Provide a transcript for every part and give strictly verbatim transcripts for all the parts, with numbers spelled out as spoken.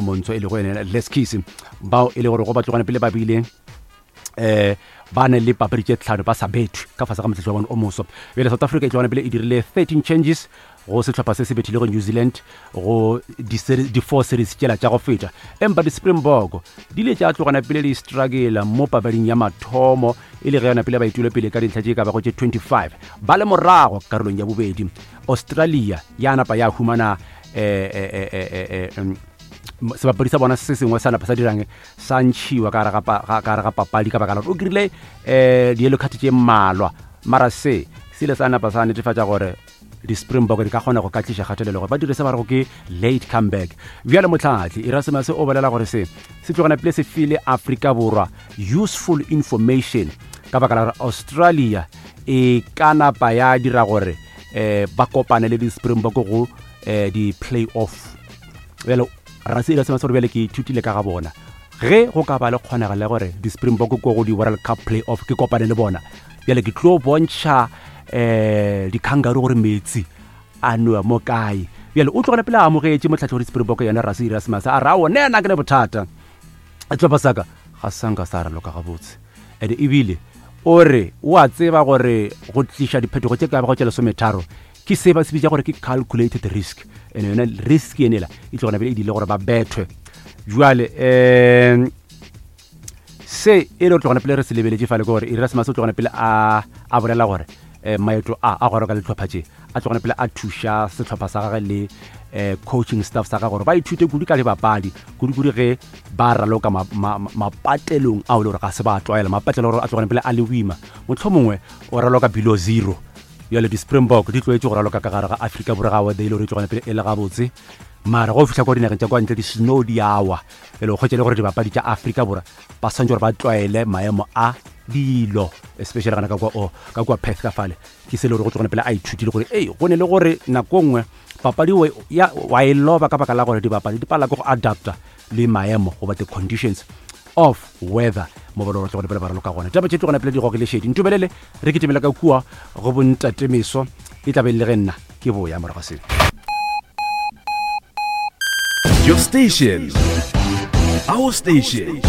Montsho e lego ene Leskis, bao e le gore go ba tlogane pele ba bile eh ba ne le papadi tše tlhano ba sa bethwe ka fase ga motlhetlo wa bone o moso. Bjale South Africa e tlogane pele e dirile thirteen changes go sehlopha se se bethilego New Zealand go di-four series tšela tša go feta, empa di-Springbok di ile tša tlogana pele di struggle mo papading ya mathomo, e le ge yona pele ba itule pele ka dintlha tše ka bago tše twenty-five ba le morago karolong ya bobedi. Australia ya napa ya humana eh, eh, eh, eh, sebapadi sa bona se sengwe sa napa sa dirang sa ntšhiwa ka gare ga papadi ka baka la gore o krile um di-yellow card tše mmalwa, mara se se ile sa napa sa netefatša gore di-Springbok di ka kgona go ka tliša kgatelelo gore ba dire se ba rego ke late comeback. Bjale motlhatli Erasmus o bolela gore se se tlogana pele se file Afrika Borwa useful information ka baka la gore Australia e ka napa ya dira gore um ba kopane le di-Springbok go um di-play-off. Bjale Rasi Erasmus gore bjale ke ithutile ka ga bona, ge go ka ba le kgonagalo ya gore di-Springbok ko go di-World Cup play-off ke kopane le bona, bjale ke tlo bontšha um di-kangaroo gore metsi a nowa mo kae. Bjale o tlogela pele a amogetše motlhatlo wa di-Springbok yena Rasi Erasmus, a re ao ne ena ke ne bothata, sehlopha sa ka ga sanka sa raloka gabotse, and ebile o re o a tseba gore go tliša diphetogo tše ka bago tše lesometharo ke se ba se bitša gore ke calculated risk, and yona risk enela e tlogana pele e dile gore ba bethwe. Jwale um se e le tlogana pele re se lebeletše fale ke gore Erasmus o tlogana pele a a bolela gore um maeto a a go reka dihlopha tše a tlogana pele a thuša sehlopha sa gagwe le um coaching staff sa gagwe gore ba ithute kudu ka dibapadi, kudu-kudu ge ba raloka mapatelong ao le gore ga se ba tlwaela, mapatlelo gore a tlogana pele a le boima, mohlomongwe o raloka below zero. Bjale di-Springbok di tlwaetše go raloka ka gare ga Afrika Borwa ga weather e le gore e tlogana pele e le gabotse, mara go fihla kwa dinageng tša kwa ntle di-snow di awa, pele o kgwetše le gore dibapadi tša Afrika Borwa ba swantse gore ba tlwaele maemo a dilo, especially gana ka kwa o ka kwa Perth ka fale. Ke se le gore go tlogana pele a ithutile gore ei go ne le gore nako nngwe papadi ya wa e loba ka baka la gore dibapadi di pala ke go adapta le maemo goba the conditions of weather mo ba le tlogane pele ba raloka gona. Taba tše tlogana pele di gogele šedi ntobelele re kitimela ka kua go bontatemeso e tla be le ge nna ke boya morago se. Your station, our station,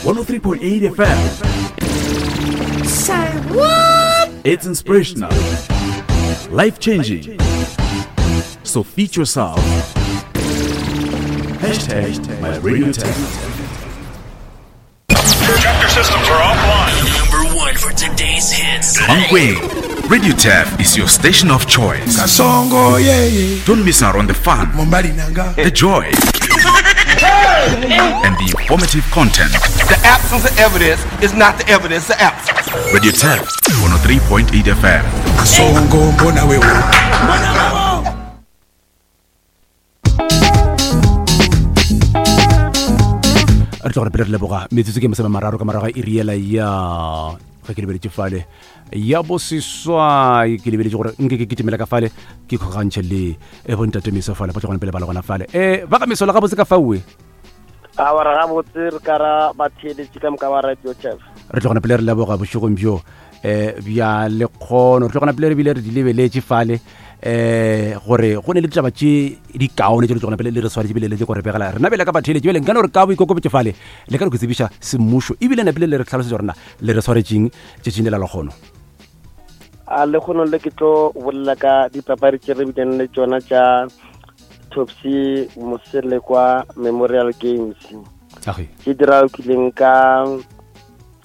one oh three point eight F M. Say what? It's inspirational, life-changing. So feed yourself. Hashtag my radio test. Chapter systems are offline. Number one for today's hits. Mankweng, Radio Taf is your station of choice. Kasongo, yeah, yeah. Don't miss out on the fun, the joy, and the informative content. The absence of evidence is not the evidence of absence. Radio Taf, one oh three point eight F M. Kasongo, mbona wewe. Mbona wewe. Re tlo gore pele re leboga metsotso ke masome mararo ka morago ga iri yela ya ge ke lebeletše fale ya boseswai, ke lebeletše gore nke ke kitimela ka fale ke kgogantšhe le e bontate meso fale ba tlogane pele ba le gona fale. Um ba ka meso la gabotse ka faue a wa re gabotse re ka ra ba theeletše ka moka ba Radio Taf. Re tlogana pele re leboga bošegong bjo um bja lekgono, re tlogana pele re bile re di lebeletše fale eh gore go ne le ditaba tše di kaone tše di tlogana pele le re swanetše bile le gore begela rena bele ka batheeletše. Bjale nkane gore ka boikokobetše fale le ka re go tsebiša semmušo ebile napile le re tlhalosetša gore na le re swaretšeng tšatšing le la lekgono. A lekgono le ke tlo bolela ka dipapadi tše re bileng le tšona tša Topsy Moselekwa Memorial Games tše di ralokileng ka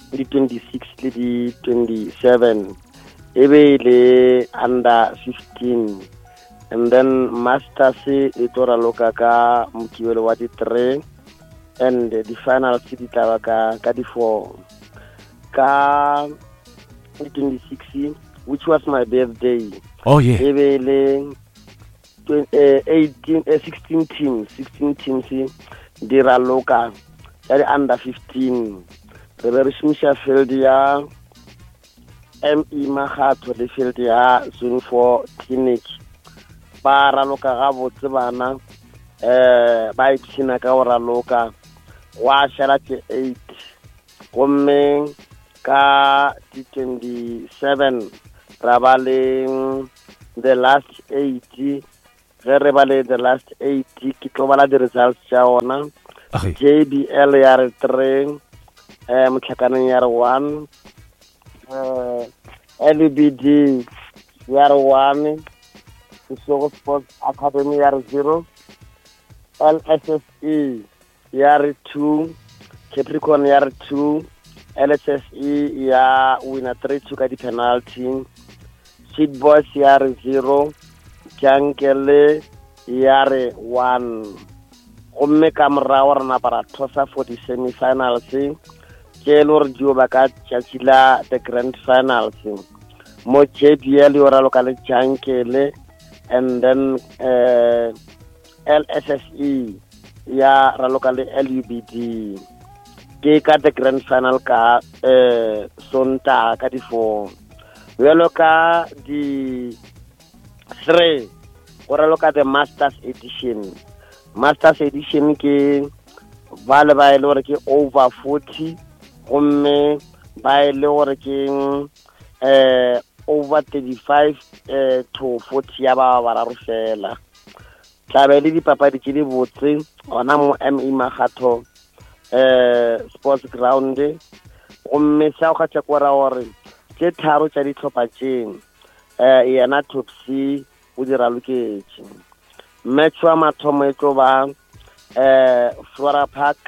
di twenty-six le di twenty-seven, e be le under fifteen, and then masters e tlo raloka ka Mokibelo wa di three, and the finals di tla ba ka ka di four. Ka di twenty-six, which was my birthday, oh yeah, e be le eighteen sixteen teams, sixteen teams di raloka ya di under fifteen. Re be re šomiša field ya M E Magatho le field ya Zone four Clinic. Ba raloka gabotse bana, eh ba ipshina ka go raloka, gwa šala tše eight. Gomme ka di twenty-seven ra ba le the last eight Ge re ba le the last eight ke tlo bala di-results tša ona. J B L ya re three, eh Motlhakaneng ya re one, eh L B D ya re one, Sesego Sports Academy ya re zero, L S S E ya re two, Capricorn ya re two, L S S E ya winner three two ka di-penalty, Seed Boys ya re zero, Jankele ya re one. Gomme ka morago re napa ra thosa for di-semi-finals tše e le gore dio ba ka tšatši la the grand finals. Mo J B L yo raloka le Jankele, and then uh, L S S E ya raloka le L U B D. Ke ka the grand final ka uh, Sontaga ka di-four. Bjalo ka di three go raloka the Masters Edition. Masters Edition ke ba le ba e le gore ke over forty, gomme ba e le gore ke eh over thirty-five eh to forty ya ba bararo fela. Tla be le dipapadi tše di botse gona mo M E Makgatho eh sports ground. Gomme sa go kgatha ko ra gore tše tharo tša dihlopha tše eh yena Top C o di raloketše. Match wa mathomo e tlo ba eh Flora Park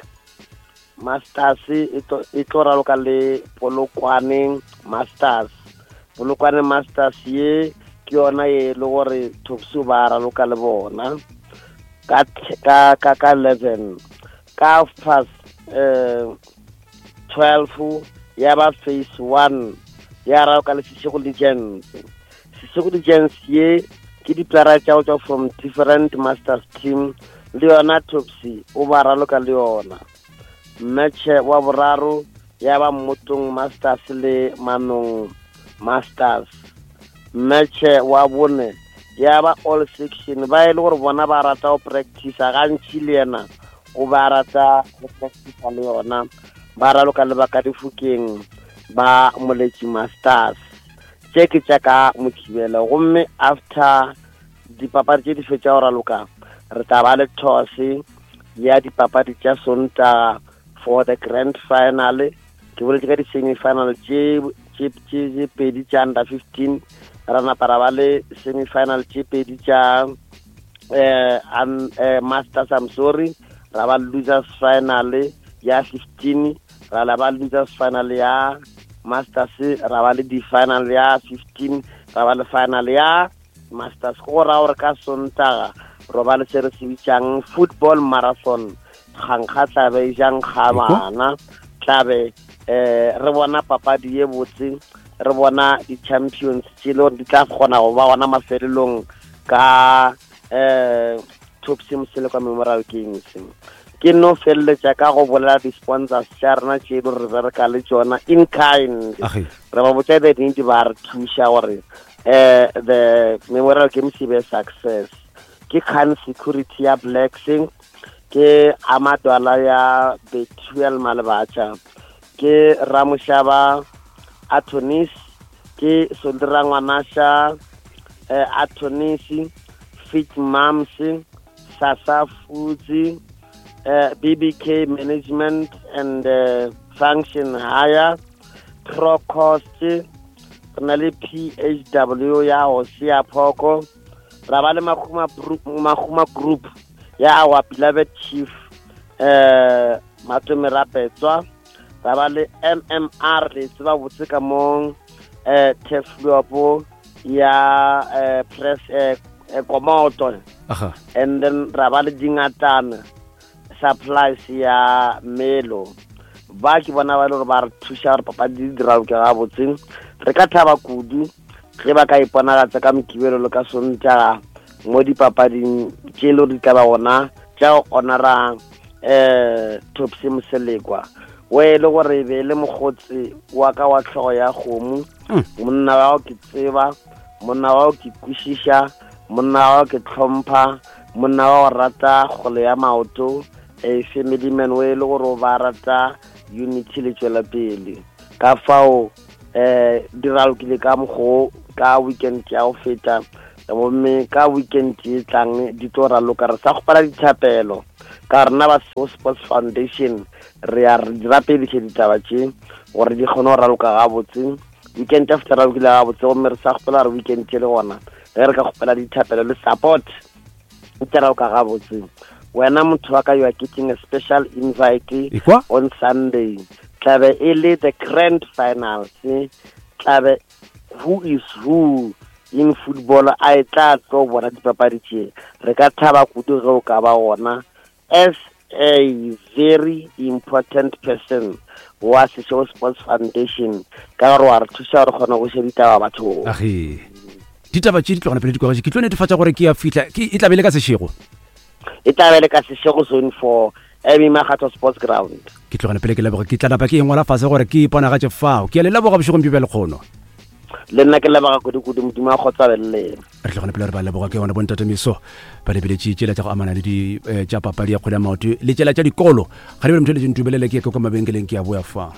Masters e tlo raloka le Polokwane Masters. Polokwane Masters ye ke yona e le gore Top C ba raloka le bona ka ka ka ka eleven. Ka past eh twelve ya ba phase one ya raloka le Seshego Legends. Seshego Legends ye ke diplara tša go tšwa from different masters team, le yona Top C o ba raloka le yona. Match wa boraro ya ba Mmotong Masters le Manong Masters. Match wa bone ya ba all section ba e le gore bona ba rata go practice gantši le yena o ba rata go practice le yona, ba raloka le ba ka difokeng ba Moletši Masters. Tše ke tša ka Mokibelo. Gomme after dipapadi tše di fetša go raloka re tla ba le toss ya dipapadi tša Sontaga for the grand final. Ke boletše ka di-semi-final tše tše pedi tša under fifteen, ra napa ra ba le semi-final tše pedi tša eh, eh, Masters, I'm sorry, ra ba losers final ya fifteen, ra la ba losers final ya Masters, ra ba le di-final ya fifteen, ra ba le final ya Masters. Go ra gore ka Sontaga ro ba le se re se bitsang football marathon. Kgankga tla be jang ga bana, tla be eh re bona papadi ye botse, re bona di-champions tše le gore di tla kgona go ba gona mafelelong ka eh Top C Moselekwa Memorial Games. Ke no feleletša ka go bolela di-sponsors tša rena tše le re bereka le tšona in kind. Re ba botša the nnete, ba re thuša gore eh the Memorial Games e be success. Ke Khan Security ya Blacks, ke Amadwala ya Bethuel Malebatša, ke Ramoshaba Attorneys, ke Sondra Ngwanasha eh, Attorneys, Fit Mams, Sasa Foods, Uh, B B K Management and uh, Function Hire, Procost, re na le P H W ya Hosea Phoko, ra ba le Mahuma Mahuma Group ya our beloved chief eh Matome Rapetswa, ra ba le M M R le tseba botse ka mong eh Teflopo ya eh, press eh, Komoto, and then ra ba le Dingatana supplies ya Melo. Ba ke bona ba le gore ba re thuša gore papadi di diraloke gabotse. Re ka thaba kudu ge ba ka iponagatša ka Mokibelo le ka Sontaga mo dipapading tše le gore di tla ba gona tša go honora eh Top C Moselekwa, we le gore be le mokgotsi wa ka wa tlhogo ya kgomo, monna wa ke tseba, monna wa ke kwešiša, monna wa ke tlhompha, monna wa go rata kgole ya maoto, a family man we le gore ba rata unity le tšwela pele. Ka fao eh di ralokile ka mokgo ka weekend ya go feta. Gomme ka weekend e tlang di tlo raloka, re sa kgopela dithapelo ka rena ba Seshego Sports Foundation, re a re di rapediše ditaba tše gore di kgone go raloka gabotse. Weekend after ralokile gabotse, gomme re sa kgopela gore weekend e le gona ge re ka kgopela dithapelo le support e tla raloka gabotse. Wena motho wa ka, you are getting a special invite on Sunday. Tlabe e le the grand finals, tlabe who is who in football a e tla tlo bona dipapadi tše. Re ka thaba kudu ge o ka ba gona as a very important person wa Seshego Sports Foundation, ka gore wa re thuša gore kgone go še ditaba bathong. Age ditaba tše di tlogana pele di kwagatše, ke tlo netefatša gore ke ya fihla, ke e tla be le ka Seshego, e tla be le ka Seshego zone four Amy Makgatho Sports Ground. Ke tlogana pele ke leboga, ke tla napa ke engwala fase gore ke iponagatše fao. Ke a le leboga bošegong bjo bja lekgono. Le nna ke leboga kudu-kudu, Modimo a kgotsa be le lena. Re tlogana pele re ba leboga ke yona bontate Meso ba lebeletše tšela tša go amana le di tša papadi ya kgwele ya maoto le tšela tša dikolo. Ga di bele motho le ntumelele ke ye kwa mabenkeleng, ke a boya fa.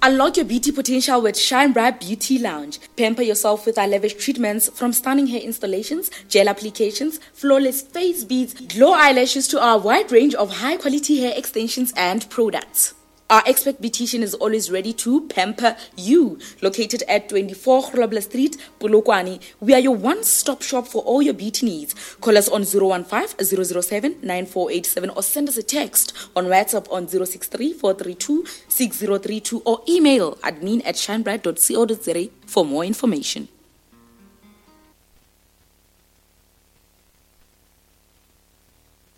Unlock your beauty potential with Shine Bright Beauty Lounge. Pamper yourself with our lavish treatments, from stunning hair installations, gel applications, flawless face beads, glow eyelashes to our wide range of high-quality hair extensions and products. Our expert beautician is always ready to pamper you. Located at twenty-four Grobler Street, Polokwane, we are your one-stop shop for all your beauty needs. Call us on zero one five, zero zero seven, nine four eight seven or send us a text on WhatsApp on zero six three, four three two, six zero three two or email admin at shinebright dot co dot za for more information.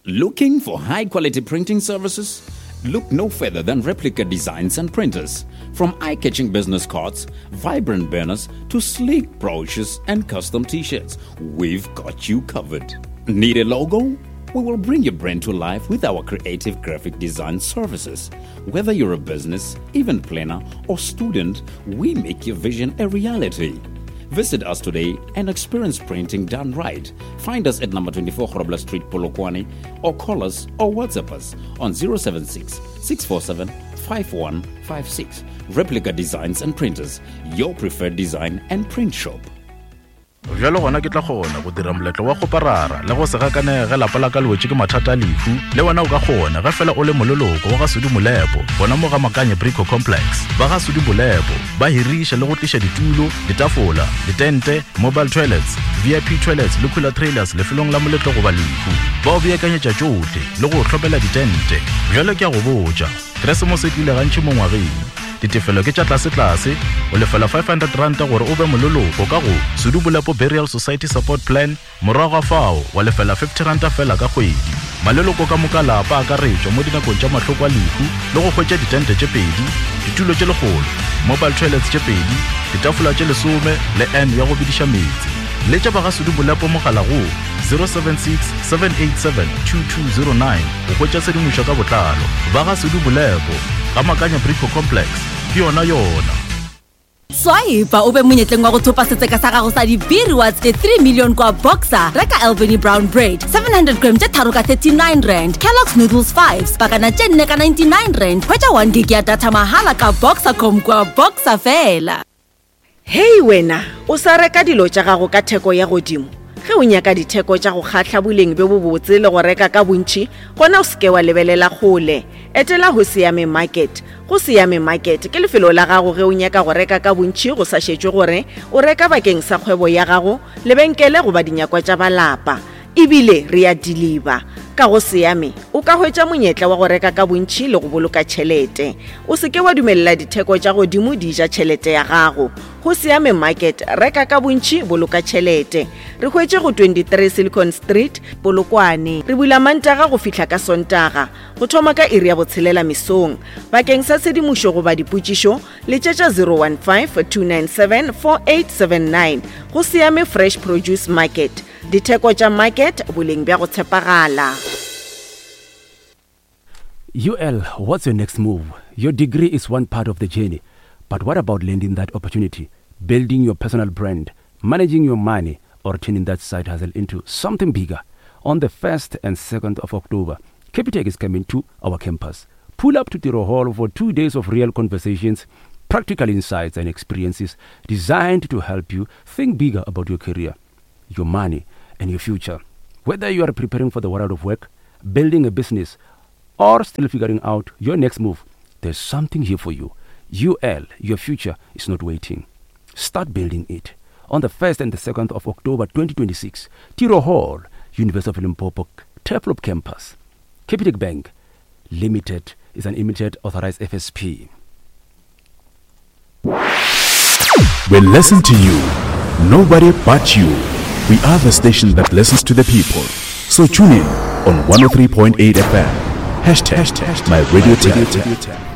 Looking for high-quality printing services? Look no further than Replica Designs and Printers. From eye-catching business cards, vibrant banners, to sleek brochures and custom t-shirts, we've got you covered. Need a logo? We will bring your brand to life with our creative graphic design services. Whether you're a business, event planner, or student, we make your vision a reality. Visit us today and experience printing done right. Find us at number twenty-four Grobler Street, Polokwane, or call us or WhatsApp us on zero seven six, six four seven, five one five six. Replica Designs and Printers, your preferred design and print shop. Bjalo gona ke tla kgona go dira moletlo wa go parara le go se gakanege lapa la ka le wetše ke mathata a lehu. Le wena o ka kgona ge fela o le moleloko wa ga Sudi Molepo gona mo ga Makanye Brico Complex. Ba ga Sudi Molepo ba hiriša le go tliša ditulo, ditafola, ditente, mobile toilets, V I P toilets le cooler trailers lefelong la moletlo goba lehu. Ba o beakanyetša tšohle le go hlopela ditente. Bjalo ke a go botša, Keresemose e tlile gantši mo ngwageng. Ditefelo ke tša tlase-tlase, o lefela five hundred rand gore o be moleloko ka go Sudi Molepo Burial Society Support Plan, morago ga fao wa lefela fifty rand fela ka kgwedi. Maleloko ka moka lapa a akaretšwa mo dinakong tša mahloko a lehu le go hwetša ditente tše pedi, ditulo tše lekgolo, mobile toilets tše pedi, ditafola tše lesome le N ya go bediša meetse. Letša ba ga Sudi Molepo mogala go zero seven six, seven eight seven, two two zero nine go hwetša tshedimošo ka botlalo. Ba ga Sudi Molepo ga Makanya Brico Complex, ke yona yona. Swipe o be monyetleng wa go thopa setseka sa gago sa di-B-rewards tše three million kwa Boxer. Reka Albany Brown Bread seven hundred gram tše tharo ka thirty-nine rand, Kellogg's Noodles fives pakana tše nne ka ninety-nine rand. Hwetša one gig ya data mahala ka Boxercom kwa Boxer fela. Hei wena, o sa reka dilo tša gago ka theko ya godimo. Ge o nyaka ditheko tša go kgahla boleng bjo bobotse le go reka ka bontši, gona o seke wa lebelela kgole. Etela go Siame Market. Go Siame Market ke lefelo la gago ge o nyaka go reka ka bontši go sa šetšwe gore o reka bakeng sa kgwebo ya gago, lebenkele goba dinyakwa tša balapa. Ebile re a deliver. Ka go Siame o ka hwetša monyetla wa go reka ka bontši le go boloka tšhelete. O seke wa dumelela ditheko tša godimo di ja tšhelete ya gago. Go Siame Market, reka ka bontši, boloka tšhelete. Re hwetše go twenty-three Silicon Street, Polokwane. Re bula Mantaga go fihla ka Sontaga, go thoma ka iri ya botshelela mesong. Bakeng sa tshedimošo goba dipotšišo, letšetša zero one five, two nine seven, four eight seven nine. Go Siame Fresh Produce Market. Ditheko tša market, boleng bja go tshepagala. U L, what's your next move? Your degree is one part of the journey, but what about landing that opportunity, building your personal brand, managing your money, or turning that side hustle into something bigger? On the first and second of October, Capitec is coming to our campus. Pull up to Tiro Hall for two days of real conversations, practical insights and experiences designed to help you think bigger about your career. your money, and your future. Whether you are preparing for the world of work, building a business, or still figuring out your next move, there's something here for you. U L, your future is not waiting. Start building it. On the first and the second of October twenty twenty-six, Tiro Hall, University of Limpopo, Turfloop Campus. Capitec Bank Limited is an limited authorized F S P. We listen to you. Nobody but you. We are the station that listens to the people. So tune in on one oh three point eight F M. Hashtag, hashtag my radio tap.